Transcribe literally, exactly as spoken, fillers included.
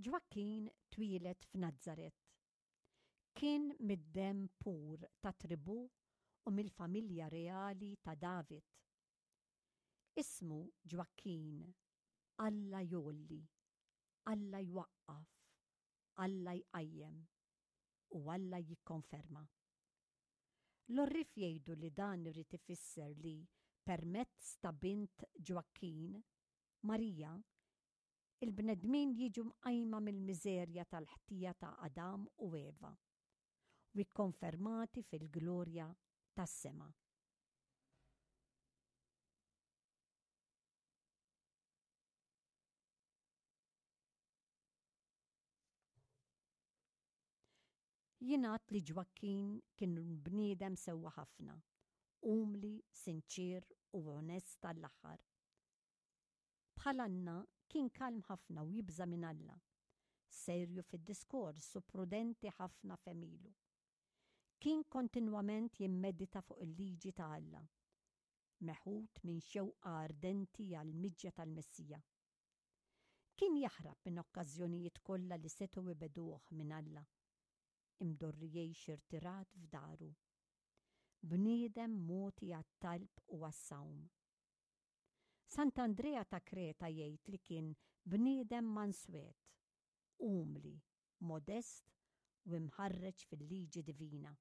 Ġwakkin twieled f'Nazzaret. Kien mid-demm pur ta' tribù u mill-familja reali ta' David. Ismu Ġwakkin, Alla jgħolli, Alla jwaqqaf, Alla jqajjem u Alla jikkonferma. L-għorrief jgħidu li dan irid ifisser li permezz ta' bint Ġwakkin, Marija, il-bnedmin jiġu mqajma mill-miżerja tal-ħtija ta' Adam u Eva u kkonfermati fil-glorja tas-sema. Jingħad li Ġwakkin kien bniedem sewwa ħafna, umli, sinċier u onest għall-aħħar. Bħal Anna kien kalm ħafna u jibża' minn Alla, serju fid-diskors u prudenti ħafna f'għemilu. Kien kontinwament jimmedita fuq il-liġi ta' Alla, meħud minn xewqa ardenti għall-miġja tal-Messija. Kien jaħrab minn okkażjonijiet kollha li setgħu jbeduh minn Alla, imdorri jgħix irtirat f'daru. Bniedem mogħti għat-talb u għas-sawm. Sant'Andrea ta' Kreta jgħid li kien bniedem manswet, umli, modest u imħarreġ fil-liġi divina.